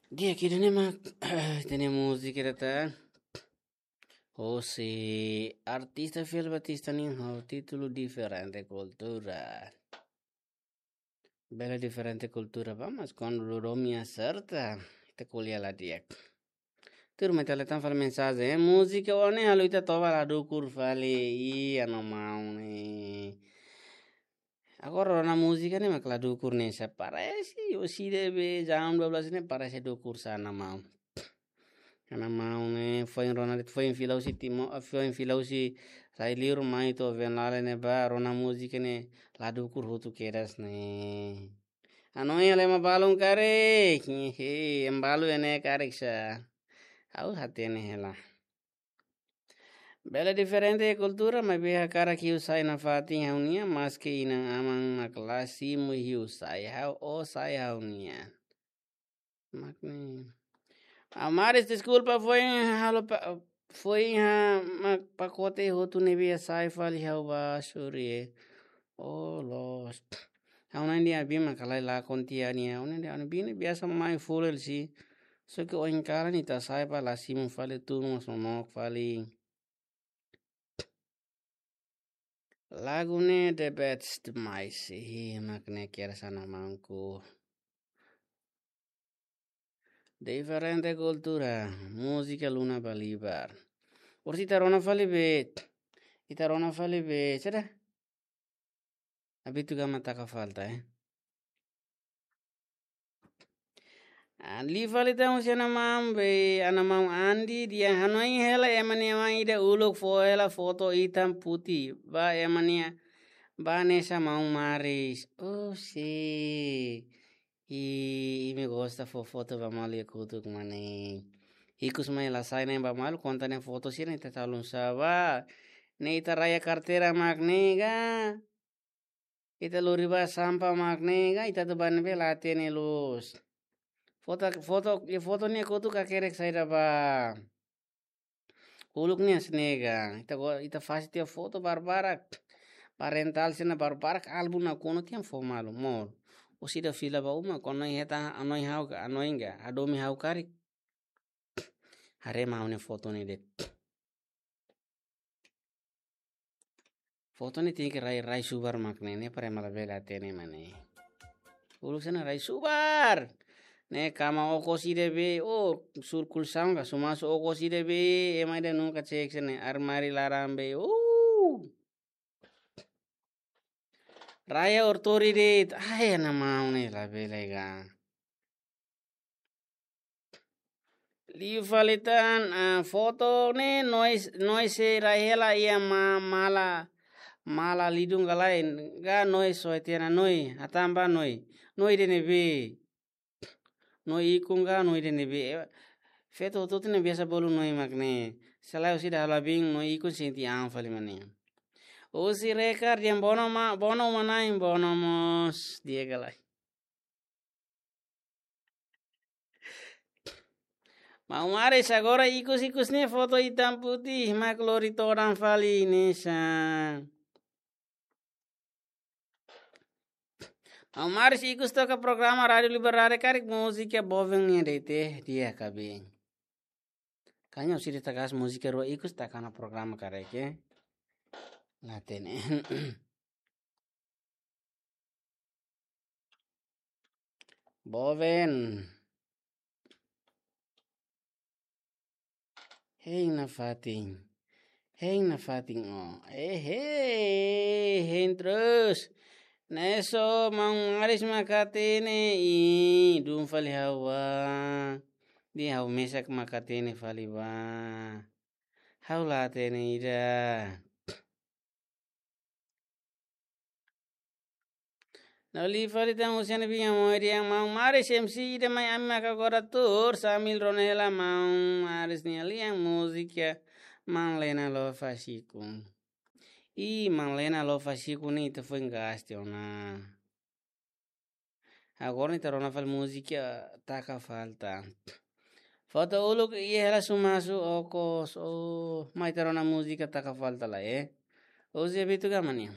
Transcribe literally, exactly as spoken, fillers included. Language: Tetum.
Di'ak, ida-ne'e mak, ita-nia múzika ida tan. Hosi artista Fiel Batista nian ho títulu Diferente Kultura. Bele diferente kultura ba, mas kuandu domin aserta, ita ko'alia la di'ak. Tuirmai ita lee tan fali mensajen, eh, múzika ohin ne'e halo ita toba la dukur fali, ih, ana maun ne'e. Agora rona múzika ne'e mak la dukur ne'e, se parese, orsida be, jam dua belas ne'e parese dukur sa ana maun. Ana maun ne'e, foin rona de'it, foin fila husi Timo, foin fila husi Sailur mai to'o Venlale ne'ebá, rona múzika ne'e la dukur hotu kedas ne'e. Hanoin hela ema balun karik, hehe, ema balun ne'e karik sá. Ha'u hatene hela. Bele diferente kultura, maibé hakarak iha sai nafatin ha'u-nian, maski inan-aman mak la simu iha sai ha'u, ó sai ha'u-nian. Mak ne'e. Maun Maris, deskulpa, foin halo pa-, foin ha-, mak pakote hotu ne'ebé sai fali ha'u ba suri, eh. Oh, loos. Ha'u-nia biin mak halai lakon tiha nian. Ha'u-nia biin ne'e biasa mai full sih. Só ke ohin kalan ita sai ba la simu fali, tun mós mamok fali. Lagu ne'e the best demais. Ih, mak ne'e kedas ana maunku. Diferente kultura, múzika Luna Balibar. Orsida ita rona fali be, ita rona fali be, será? Abitu gama taka falta, eh. Ah, liu fali tan husi ana maun be, ana maun Andi, di'ak, hanoin hela ema nia maun ida uluk fó hela foto hitam putih ba ema nia, ba hanesan maun Maris. Oh, si. I, imi gosta fó foto ba malu iha kotuk mak ne'e. Ikus mai la sai ne'e ba malu, konta ne'e foto sira ne'e ita tau lun sá ba. Ne'e ita raya karteira mak ne'e ka. Ita lori ba sampah mak ne'e ka, ita atu bá ne'ebé la hatene loos. Foto, foto, iha foto ne'e kotuk hakerek saida ba. Uluk ne'e hanesan ne'e ka, ita go, ita fase tiha foto barbarak. Parental sira-ne'e barbarak, álbum nakonu tiha fó malu, mós. Orsida fila ba uma, kuandu hanoin hetan, hanoin ha'u ka, hanoin ka, hadomi ha'u karik. Haree maun nia foto ne'e de'it. Foto ne'e tenke rai, rai subar mak ne'e, ne'e para ema labele hatene mak ne'e. Uluk sira-ne'e rai subar. Ne'e kama okos ida be, oh, surkul sangka, sumasu okos ida be, ema ida nunka cek sira-ne'e, armáriu laran be, oh. Raya ortori de'it, ai, ana maun ne'e labele ka. Liu fali tan, ah, foto ne'e nois, nois sei rai hela iha ma-, mala, mala lidung ka lae, ka nois soe tiha ona noi, hatán ba noi, noi ida ne'ebé. Noi ikun ka noi ida ne'ebé. Feto hotu-hotu ne'e biasa bolu noi mak ne'e. Se lae orsida halo biin noi ikun sente an fali mak ne'e. Husi Rekar dehan bono ma-, bono uma-na'in, bono mós, di'ak ka lae. Maun Maris, agora ikus-ikus ne'e foto hitam putih mak lori todan fali hanesan. Maun Maris, ikus toka programa Rádiu Liberdade karik múzika boven ne'e de'it, di'ak ka be. Kanya orsida taka hanesan múzika rua ikus taka ona programa karik, eh. La hatene. Boven. Hein nafatin. Hein nafatin ó. Eh, hein, hein terus. Ne'e só maun Maris mak hatene, i dun fali ha'u ba. Dehan ha'u mesak mak hatene fali ba. Ha'u la hatene ida. No liu fali tan husi ami-nia biin Amoy dehan maun Maris M C ida mai ami maka agora tuur sambil rona hela maun Maris nia lian múzika Maun Lena Lofasiku. I Maun Lena Lofasiku ne'e ita foin gaste ona. Agora ita rona fali múzika Taka Falta. Foto uluk iha hela sumasu okos, oh, mai ita rona múzika Taka Falta lai, eh. Hoje é Beto Gamania.